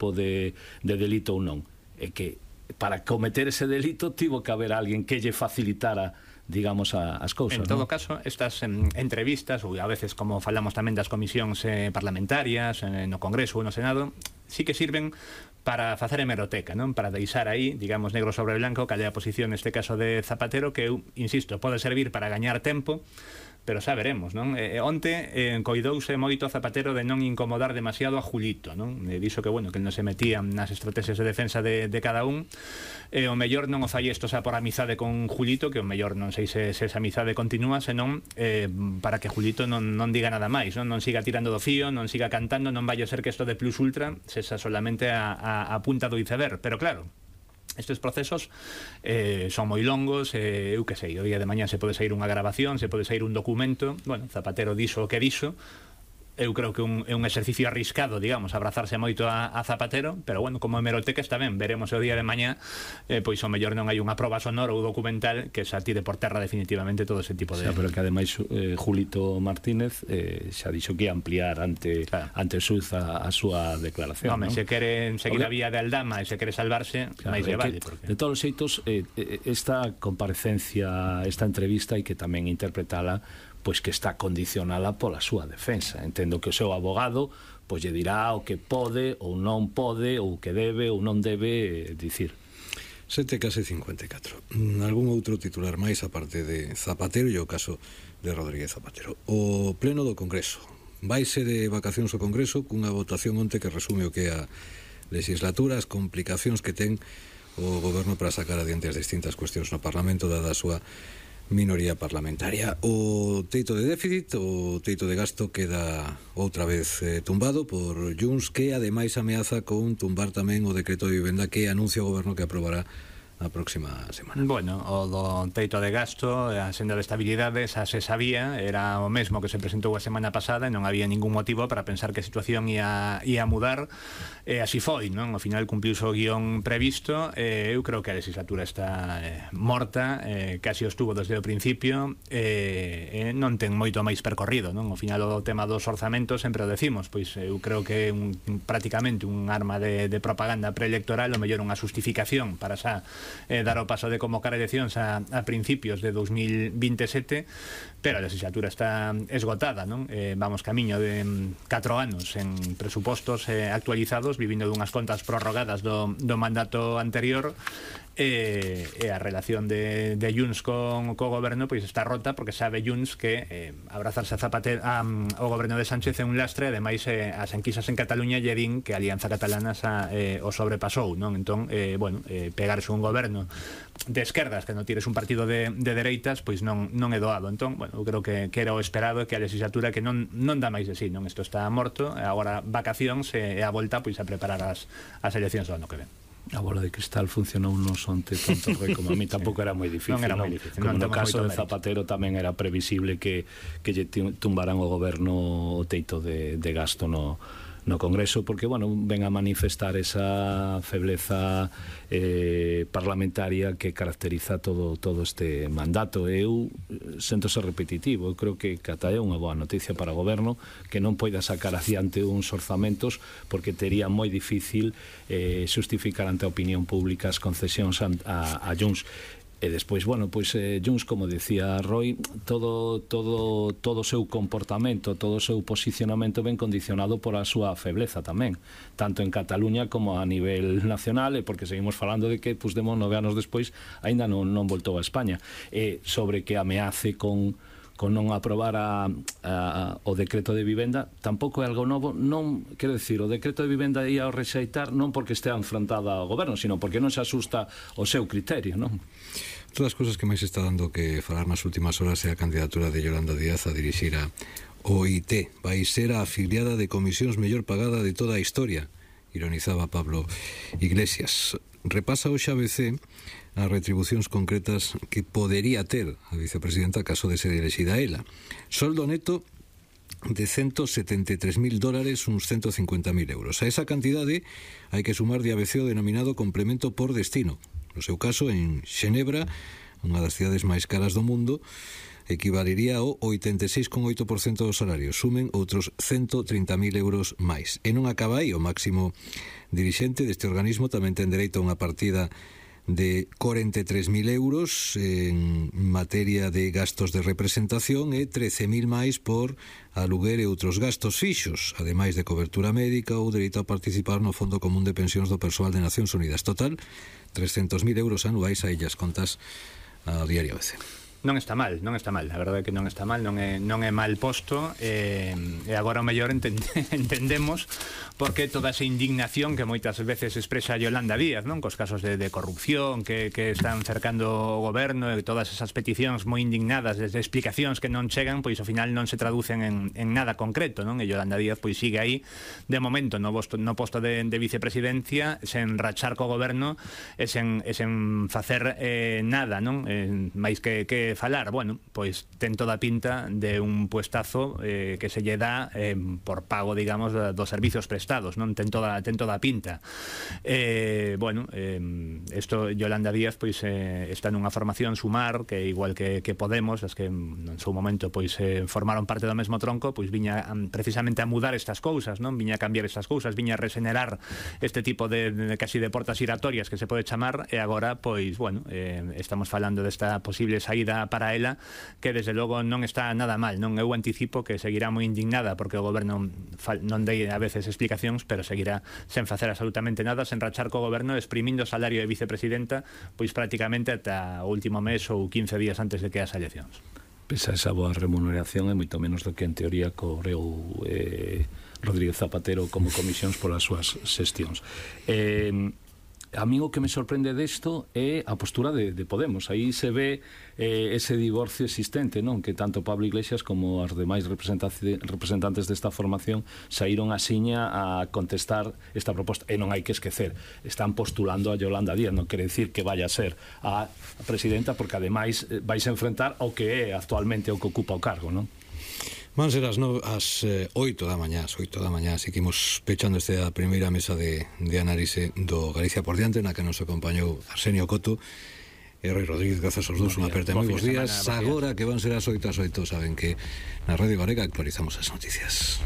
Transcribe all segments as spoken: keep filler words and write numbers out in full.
tipo de, de delito ou non. É que para cometer ese delito tivo que haber alguén que lle facilitara, digamos, a, as cousas. En todo ¿no? caso, estas em, entrevistas, ou a veces como falamos tamén das comisións eh, parlamentarias eh, no Congreso ou no Senado, sí que sirven para facer hemeroteca, non? Para deixar aí, digamos, negro sobre blanco cal é a posición neste caso de Zapatero, que eu, insisto, pode servir para gañar tempo, pero xa veremos, non? Eh, onte eh, coidouse moito a Zapatero de non incomodar demasiado a Julito, non? Eh, dixo que, bueno, que non se metía nas estrategias de defensa de, de cada un, e eh, o mellor non o fai isto xa por amizade con Julito, que o mellor non sei se, se esa amizade continúa, senón eh, para que Julito non, non diga nada máis, non? Non siga tirando do fío, non siga cantando, non vai a ser que isto de Plus Ultra sexa solamente a, a, a punta do iceberg, pero claro, estes procesos eh, son moi longos, eh, eu que sei, o día de mañá se pode sair unha grabación, se pode sair un documento. Bueno, Zapatero dixo o que dixo. Eu creo que un, é un exercicio arriscado, digamos, abrazarse moito a, a Zapatero, pero bueno, como hemeroteca está ben, veremos o día de mañá, eh, pois o mellor non hai unha proba sonora ou documental que xa tire por terra definitivamente todo ese tipo de... Xa, pero que ademais eh, Julito Martínez eh, xa dixo que ia ampliar ante, claro, ante o Suz a, a súa declaración. Home, ¿no? Se quere seguir a vía de Aldama e se quere salvarse, claro, máis lle vale. Porque... De todos os xeitos, eh, esta comparecencia, esta entrevista hai que tamén interpretala pois que está condicionada pola súa defensa. Entendo que o seu abogado pois lle dirá o que pode ou non pode, ou que debe ou non debe dicir. Sete case cincuenta e catro. Algún outro titular máis aparte de Zapatero e o caso de Rodríguez Zapatero. O pleno do Congreso. Vaise de vacacións ao Congreso cunha votación onte que resume o que é a legislatura, as complicacións que ten o goberno para sacar adiante as distintas cuestións no Parlamento dada a súa minoría parlamentaria. O teito de déficit, o teito de gasto queda outra vez eh, tumbado por Junts, que ademais ameaza con tumbar tamén o decreto de vivenda que anuncia o goberno que aprobará a próxima semana. Bueno, o do teito de gasto, a senda de estabilidade, xa se sabía, era o mesmo que se presentou a semana pasada e non había ningún motivo para pensar que a situación ia, ia mudar, e así foi, non? Ao final cumpliuse o guión previsto, e eu creo que a legislatura está eh, morta, eh, casi o estuvo desde o principio, e eh, non ten moito máis percorrido, non? Ao final o tema dos orzamentos sempre o decimos, pois eu creo que é un, prácticamente un arma de, de propaganda preelectoral, o mellor unha justificación para xa Eh, dar o paso de convocar eleccións a, a principios de dos mil veintisiete, pero a legislatura está esgotada, non? Eh, vamos camiño de catro anos en presupostos eh, actualizados, vivindo dunhas contas prorrogadas do, do mandato anterior, e, e a relación de, de Junts con co goberno pois está rota, porque sabe Junts que eh, abrazarse a Zapatero a, ao goberno de Sánchez é un lastre, ademais eh, as enquisas en Cataluña lle din que a Alianza Catalana xa, eh, o sobrepasou, non? Entón, eh, bueno, eh, pegarse un goberno de esquerdas que non tires un partido de, de dereitas, pois non, non é doado. Entón, bueno, eu creo que, que era o esperado, que a legislatura que non, non dá máis de sí, non? Isto está morto, agora vacacións e a volta pois a preparar as, as eleccións do ano que ven. A bola de cristal funcionou nos onte tanto rei como a mí tampouco era moi difícil, non era non? moi difícil, como non no caso de mérito. Zapatero tamén era previsible que, que lle tumbaran o goberno o teito de, de gasto no, no Congreso, porque, bueno, ven a manifestar esa febleza eh, parlamentaria que caracteriza todo, todo este mandato. Eu sento ser repetitivo, eu creo que cata é unha boa noticia para o goberno que non poida sacar adiante uns orzamentos, porque tería moi difícil eh, justificar ante a opinión pública as concesións a, a, a Junts. E despois, bueno, pois eh, Junts, como decía Roy, todo todo todo o seu comportamento, todo o seu posicionamento ben condicionado por a súa febleza tamén, tanto en Cataluña como a nivel nacional, e porque seguimos falando de que Puigdemont nove anos despois aínda non, non voltou a España, e sobre que ameace con con non aprobar a, a, o decreto de vivenda tampouco é algo novo. Non, quero dicir, o decreto de vivenda ia ao rexeitar non porque estea enfrontada ao goberno, sino porque non se asusta o seu criterio, non? Todas as cousas que máis está dando que falar nas últimas horas é a candidatura de Yolanda Díaz a dirixir a O I T. Vai ser a afiliada de comisións mellor pagada de toda a historia, ironizaba Pablo Iglesias. Repasa hoxe a B C as retribucións concretas que podería ter a vicepresidenta caso de ser elexida ela. Soldo neto de ciento setenta e tres mil dólares, uns ciento cincuenta mil euros. A esa cantidade hai que sumar de A B C o denominado complemento por destino. No seu caso, en Xenebra, unha das cidades máis caras do mundo, equivalería ao oitenta e seis coma oito por cento do salario. Sumen outros ciento trinta mil euros máis. E non acaba aí, o máximo dirixente deste organismo tamén ten dereito a unha partida de cuarenta e tres mil euros en materia de gastos de representación e trece mil máis por aluguer e outros gastos fixos, ademais de cobertura médica ou dereito a participar no Fondo Común de Pensións do Persoal de Nacións Unidas. Total, trescentos mil euros anuais a ellas contas a Diario A B C. Non está mal, non está mal, a verdade é que non está mal, non é, non é mal posto, e, e agora o mellor entende, entendemos por que toda esa indignación que moitas veces expresa Yolanda Díaz, non, cos casos de, de corrupción que, que están cercando o goberno, e todas esas peticións moi indignadas desde explicacións que non chegan, pois ao final non se traducen en, en nada concreto, non, e Yolanda Díaz pois sigue aí de momento no, posto, no posto de, de vicepresidencia sen rachar co goberno e sen, e sen facer eh, nada, non, eh, máis que, que falar, bueno, pois ten toda a pinta de un puestazo eh, que se lle dá eh, por pago, digamos, dos servizos prestados, non, ten toda, ten toda a pinta. Eh, bueno, eh, esto Yolanda Díaz pois eh, está nunha formación Sumar, que igual que, que Podemos, as que en seu momento pois eh, formaron parte do mesmo tronco, pois viña um, precisamente a mudar estas cousas, non, viña a cambiar estas cousas, viña a regenerar este tipo de, de casi de portas giratorias que se pode chamar, e agora pois, bueno, eh, estamos falando desta posible saída para ela, que desde logo non está nada mal, non? Eu anticipo que seguirá moi indignada porque o goberno non dei a veces explicacións, pero seguirá sen facer absolutamente nada, sen rachar co goberno, exprimindo o salario de vicepresidenta pois prácticamente ata o último mes ou quince días antes de que as eleccións. Pesa esa boa remuneración é moito menos do que en teoría cobreu eh, Rodríguez Zapatero como comisións polas súas xestións. Eh, A mí o que me sorprende desto é a postura de, de Podemos. Aí se ve eh, ese divorcio existente, non? Que tanto Pablo Iglesias como as demais representantes desta formación saíron a siña a contestar esta proposta. E non hai que esquecer, están postulando a Yolanda Díaz, non quere decir que vaya a ser a presidenta, porque ademais vais a enfrentar ao que é actualmente o que ocupa o cargo, non? Van ser as, no, as eh, oito da mañá, as oito da mañá, así que imos pechando esta primeira mesa de, de análise do Galicia por diante, na que nos acompañou Arsenio Coto e Rui Rodríguez. Grazas aos dous, unha aperta moi bons días. Agora que van ser as oito as oito, saben que na Radio Galega actualizamos as noticias.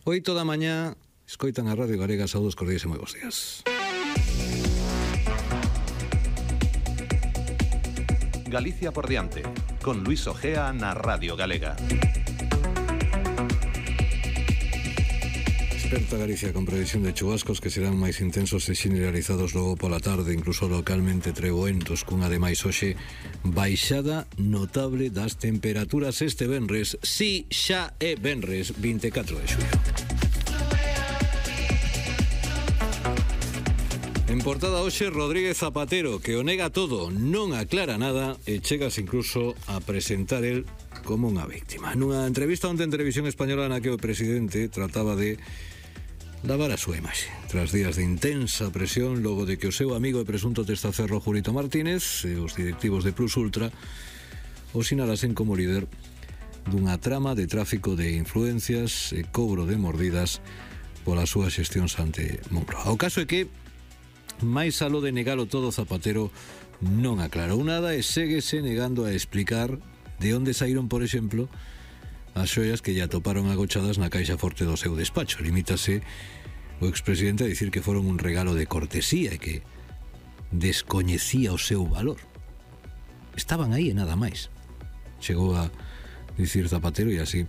Oito da mañá, escoitan a Radio Galega. Saúdos cordiais e moi bons días. Galicia por diante, con Luis Ojea na Radio Galega. Desperta Galicia con previsión de chubascos que serán máis intensos e generalizados logo pola tarde, incluso localmente treboentos, cunha ademais hoxe baixada notable das temperaturas este venres. Si, xa é venres vinte e catro de xullo. En portada hoxe Rodríguez Zapatero, que o nega todo, non aclara nada e chegas incluso a presentar el como unha víctima. Nunha entrevista onte en Televisión Española na que o presidente trataba de lavar a súa imaxe, tras días de intensa presión logo de que o seu amigo e presunto testaferro Julito Martínez e os directivos de Plus Ultra o sinalasen como líder dunha trama de tráfico de influencias e cobro de mordidas polas súas xestións ante Moncloa. O caso é que máis aló de negalo todo, Zapatero non aclarou nada e séguese negando a explicar de onde saíron, por exemplo, as xoias que lle atoparon agochadas na caixa forte do seu despacho. Limítase o expresidente a dicir que foron un regalo de cortesía e que descoñecía o seu valor. Estaban aí e nada máis, chegou a dicir Zapatero, e así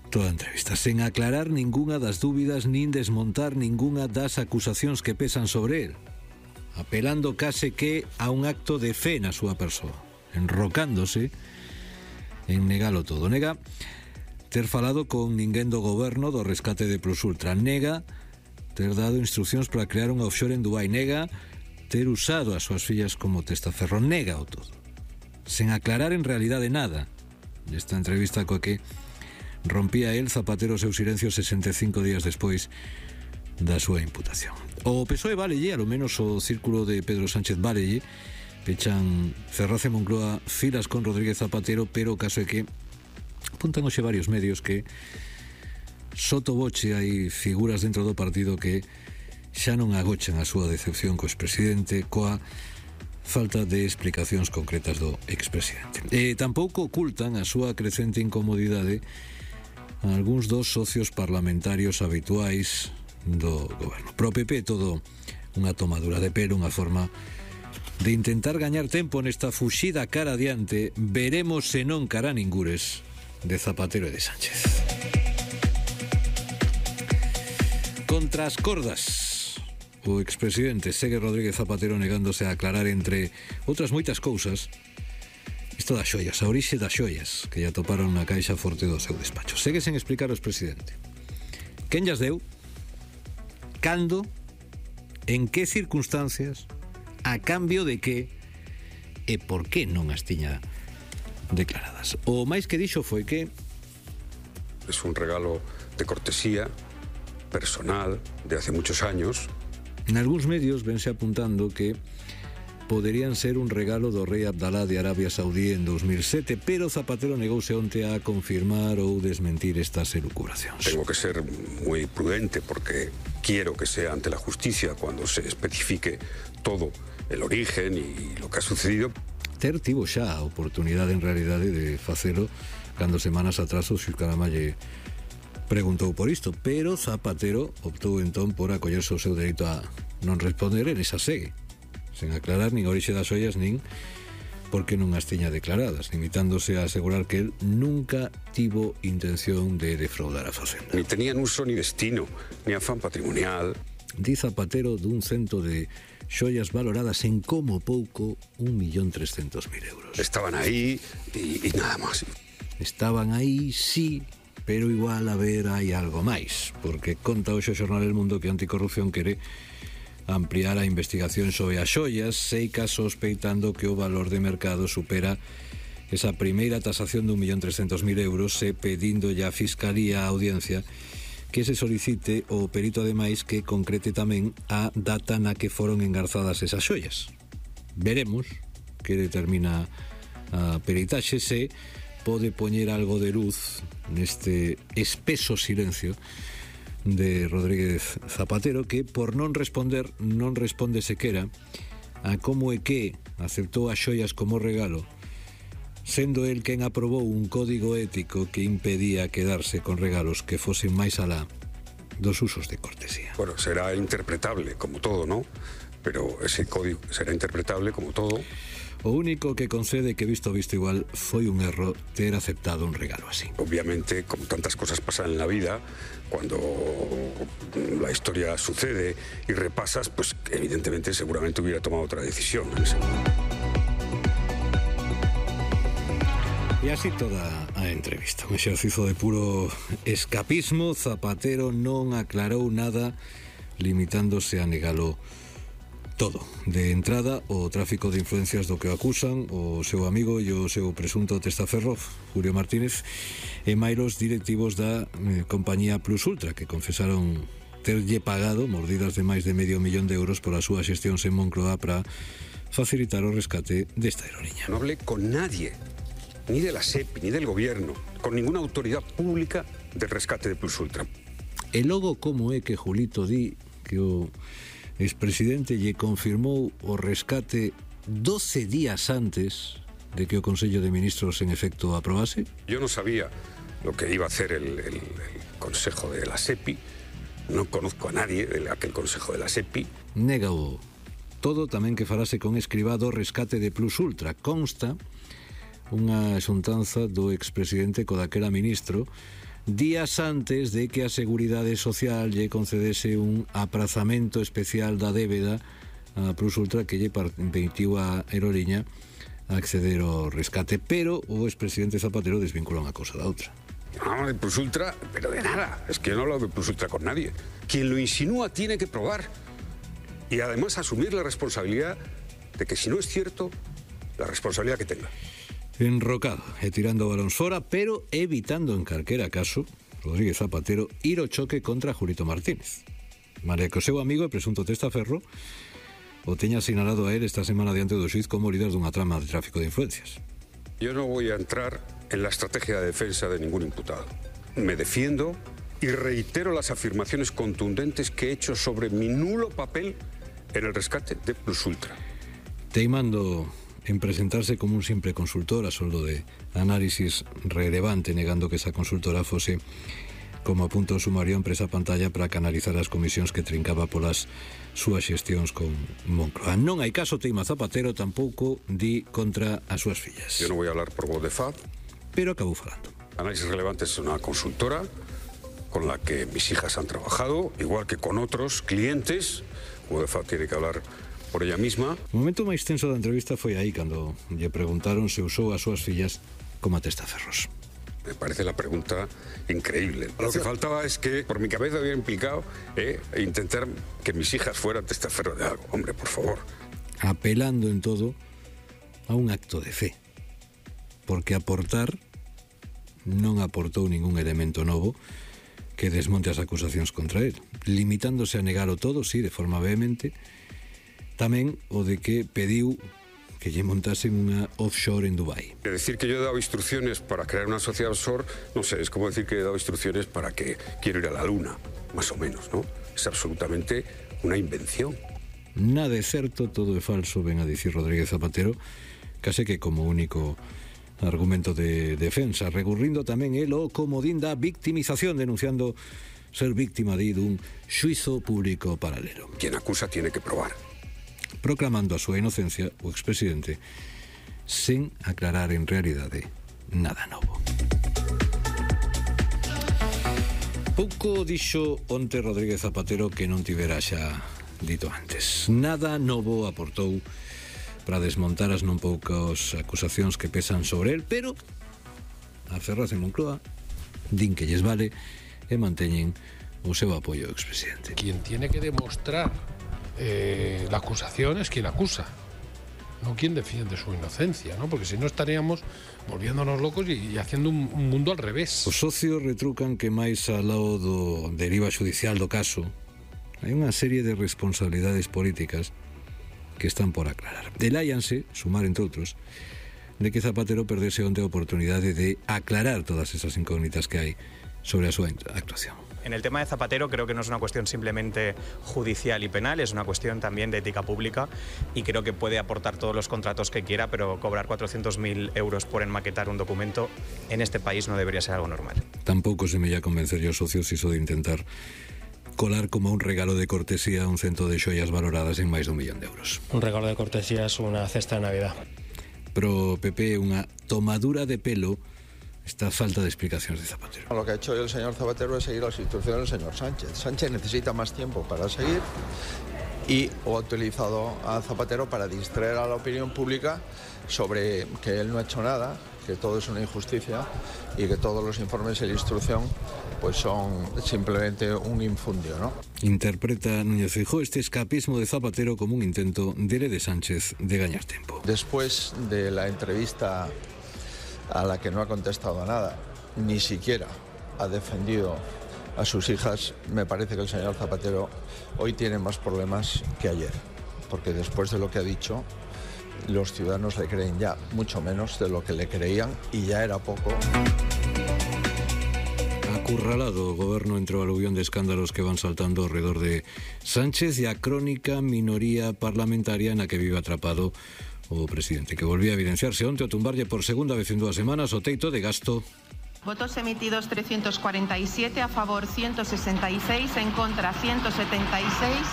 toda a entrevista, sen aclarar ningunha das dúbidas nin desmontar ningunha das acusacións que pesan sobre él, apelando case que a un acto de fe na súa persoa, enrocándose en negalo todo. Nega ter falado con ninguén do goberno do rescate de Plus Ultra, nega ter dado instruccións para crear un offshore en Dubai, nega ter usado as súas fillas como testaferro, nega o todo, sen aclarar en realidade nada. Nesta entrevista coa que rompía el, Zapatero, o seu silencio sesenta e cinco días despois da súa imputación. O P S O E válelle, alo menos o círculo de Pedro Sánchez válelle, pechan Ferraz e Moncloa filas con Rodríguez Zapatero, pero o caso é que apuntan hoxe varios medios que sotoboche hai figuras dentro do partido que xa non agochan a súa decepción co expresidente coa falta de explicacións concretas do expresidente. E tampouco ocultan a súa crecente incomodidade a algúns dos socios parlamentarios habituais do goberno. Pro P P todo unha tomadura de pelo, unha forma de intentar gañar tempo nesta fuxida cara adiante, veremos se non cara ningures, de Zapatero e de Sánchez. Contra as cordas, o expresidente segue Rodríguez Zapatero negándose a aclarar, entre outras moitas cousas, isto das xoias, a orixe das xoias que lle atoparon na caixa forte do seu despacho. Segue sen explicar o expresidente quen llas deu, cando, en que circunstancias, a cambio de que e por que non as tiña declaradas. O máis que dixo foi que es un regalo de cortesía personal de hace muchos años. En algúns medios vense apuntando que poderían ser un regalo do rei Abdalá de Arabia Saudí en dos mil sete, pero Zapatero negouse onte a confirmar ou desmentir estas elucubracións. Tengo que ser muy prudente porque quiero que sea ante la justicia cuando se especifique todo el origen y lo que ha sucedido. Ter tivo xa a oportunidade en realidade de facelo cando semanas atrás o Xilcarama lle preguntou por isto, pero Zapatero optou entón por acollerse o seu dereito a non responder en esa segue, sen aclarar nin a orixe das ollas nin porque non as tiña declaradas, limitándose a asegurar que él nunca tivo intención de defraudar a Facenda. Ni tenían uso ni destino, ni afán patrimonial. Di Zapatero dun cento de xoias valoradas en como pouco un millón trescentos mil euros. Estaban ahí y, y nada más. Estaban aí, sí, pero igual a ver hai algo máis, porque conta hoxe o xornal El Mundo que Anticorrupción quere ampliar a investigación sobre as xoias, seica sospeitando que o valor de mercado supera esa primeira tasación de un millón trescentos mil euros, e pedíndolle a Fiscalía a audiencia que se solicite o perito ademais que concrete tamén a data na que foron engarzadas esas xoias. Veremos que determina a peritaxe, se pode poñer algo de luz neste espeso silencio de Rodríguez Zapatero, que por non responder non responde sequera a como é que aceptou as xoias como regalo, sendo el quen aprobou un código ético que impedía quedarse con regalos que fosen máis alá dos usos de cortesía. Bueno, será interpretable como todo, ¿no? Pero ese código será interpretable como todo. O único que concede que visto visto igual foi un erro ter aceptado un regalo así. Obviamente, como tantas cosas pasan en la vida, cuando la historia sucede y repasas, pues evidentemente seguramente hubiera tomado otra decisión en ese momento. E así toda a entrevista, un exercizo de puro escapismo. Zapatero non aclarou nada, limitándose a negalo todo. De entrada, o tráfico de influencias do que o acusan o seu amigo e o seu presunto testaferro, Julio Martínez, e mailos directivos da eh, compañía Plus Ultra, que confesaron terlle pagado mordidas de máis de medio millón de euros por a súa xestión en Moncloa para facilitar o rescate desta aerolínea. No hablé con nadie, ni de la SEPI, ni del gobierno, con ninguna autoridad pública del rescate de Plus Ultra. E logo como é que Julito di que o expresidente lle confirmou o rescate doce días antes de que o Consello de Ministros en efecto aprobase? Yo no sabía lo que iba a hacer el, el, el Consejo de la SEPI, no conozco a nadie de aquel Consejo de la SEPI. Négao todo tamén que farase con Escrivá do rescate de Plus Ultra. Consta unha xuntanza do expresidente co daquela ministro días antes de que a Seguridade Social lle concedese un aprazamento especial da débeda a Plus Ultra que lle permitiu a aeroliña acceder ao rescate, pero o expresidente Zapatero desvincula unha cosa da outra. No, de Plus Ultra, pero de nada, es que yo no hablo de Plus Ultra con nadie. Quien lo insinúa tiene que probar y además asumir la responsabilidad de que si no es cierto, la responsabilidad que tenga. Enrocado e tirando balóns fora, pero evitando en calquera caso, Rodríguez Zapatero, ir ao choque contra Julito Martínez. Malia que o seu amigo e presunto testaferro o teña sinalado a él esta semana diante do xuiz como líder dunha trama de tráfico de influencias. Yo no voy a entrar en la estrategia de defensa de ningún imputado. Me defiendo y reitero las afirmaciones contundentes que he hecho sobre mi nulo papel en el rescate de Plus Ultra. Teimando en presentarse como un simple consultor a soldo de análisis relevante, negando que esa consultora fose como a punto sumario a empresa pantalla para canalizar as comisións que trincaba polas súas xestións con Moncloa. Non hai caso, teima Zapatero, tampouco di contra as súas fillas. Yo no voy a hablar por voz de F A D. Pero acabou falando. Análisis Relevante es una consultora con la que mis hijas han trabajado, igual que con otros clientes. O de F A D tiene que hablar por ella misma. O momento máis tenso da entrevista foi aí, cando lle preguntaron se usou as súas fillas como testaferros. Me parece la pregunta increíble. Lo que faltaba es que por mi cabeza hubiera implicado eh, intentar que mis hijas fueran testaferros de algo. Hombre, por favor. Apelando en todo a un acto de fe. Porque aportar non aportou ningún elemento novo que desmonte as acusacións contra él, limitándose a negalo todo, sí, de forma vehemente, tamén o de que pediu que lle montasen unha offshore en Dubái. Decir que yo he dado instrucciones para crear una sociedad offshore, no sé, es como decir que he dado instrucciones para que quiero ir a la luna, más o menos, ¿no? Es absolutamente una invención. Nada é certo, todo é falso, ven a dicir Rodríguez Zapatero, case que como único argumento de defensa, recurrindo tamén el o comodín da victimización, denunciando ser víctima de dun xuizo público paralelo. Quien acusa tiene que probar. Proclamando a súa inocencia, o expresidente, sen aclarar en realidade nada novo. Pouco dixo onte Rodríguez Zapatero que non tivera xa dito antes. Nada novo aportou para desmontar as non poucas acusacións que pesan sobre el, pero a Ferraz e Moncloa din que lles vale e manteñen o seu apoio ao expresidente. Quien tiene que demostrar eh, la acusación es quien acusa, no quien defiende su inocencia, ¿no? Porque si no estaríamos volviéndonos locos y, y haciendo un, un mundo al revés. Os socios retrucan que máis ao lado do deriva judicial do caso hai unha serie de responsabilidades políticas que están por aclarar. Deláianse, sumar entre outros, de que Zapatero perdese onte a oportunidade de aclarar todas esas incógnitas que hai sobre a súa actuación. En el tema de Zapatero creo que no es una cuestión simplemente judicial y penal, es una cuestión también de ética pública y creo que puede aportar todos los contratos que quiera, pero cobrar cuatrocientos mil euros por enmaquetar un documento en este país no debería ser algo normal. Tampouco se me ia convencer yo socios iso de intentar colar como un regalo de cortesía un cento de xoias valoradas en máis dun millón de euros. Un regalo de cortesía es una cesta de Navidad. Pero P P, unha tomadura de pelo esta falta de explicaciones de Zapatero. Lo que ha hecho el señor Zapatero es seguir las instrucciones del señor Sánchez. Sánchez necesita más tiempo para seguir y ha utilizado a Zapatero para distraer a la opinión pública sobre que él no ha hecho nada, que todo es una injusticia y que todos los informes de la instrucción pues son simplemente un infundio, ¿no? Interpreta Núñez Feijóo este escapismo de Zapatero como un intento de de Sánchez de gañar tiempo. Después de la entrevista a la que no ha contestado a nada, ni siquiera ha defendido a sus hijas, me parece que el señor Zapatero hoy tiene más problemas que ayer, porque después de lo que ha dicho, los ciudadanos le creen ya mucho menos de lo que le creían y ya era poco. Acurralado, o goberno entrou ao aluvión de escándalos que van saltando alrededor de Sánchez e a crónica minoría parlamentaria na que vive atrapado o presidente, que volvía a evidenciarse onte ao tumbarlle por segunda vez en dúas semanas o teito de gasto. Votos emitidos trescientos cuarenta y siete, a favor ciento sesenta y seis, en contra ciento setenta y seis,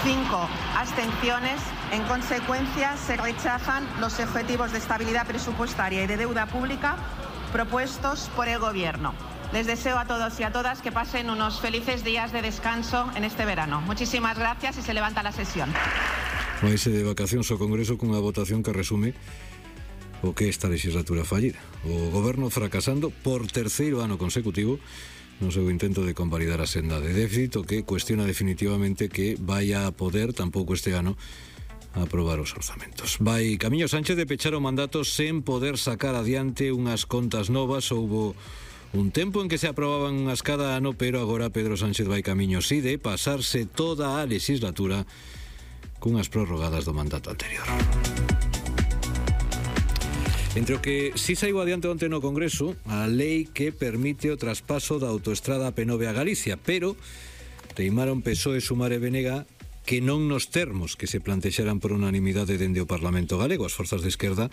cinco abstenciones. En consecuencia, se rechazan los objetivos de estabilidad presupuestaria y de deuda pública propuestos por el Gobierno. Les deseo a todos y a todas que pasen unos felices días de descanso en este verano. Muchísimas gracias y se levanta la sesión. Vaise de vacacións ao Congreso cunha votación que resume o que esta legislatura fallida. O goberno fracasando por terceiro ano consecutivo no seu intento de convalidar a senda de déficit, o que cuestiona definitivamente que vaya a poder tampouco este ano aprobar os orzamentos. Vai camiño Sánchez de pechar o mandato sen poder sacar adiante unhas contas novas. Houbo un tempo en que se aprobaban unhas cada ano, pero agora Pedro Sánchez vai camiño si de pasarse toda a legislatura cunhas prorrogadas do mandato anterior. Entre o que si saiu adiante onte no Congreso a lei que permite o traspaso da autoestrada P nove a Galicia, pero teimaron P S O E, Sumar e B N G que non nos termos que se plantexaran por unanimidade dende o Parlamento galego. As forzas de esquerda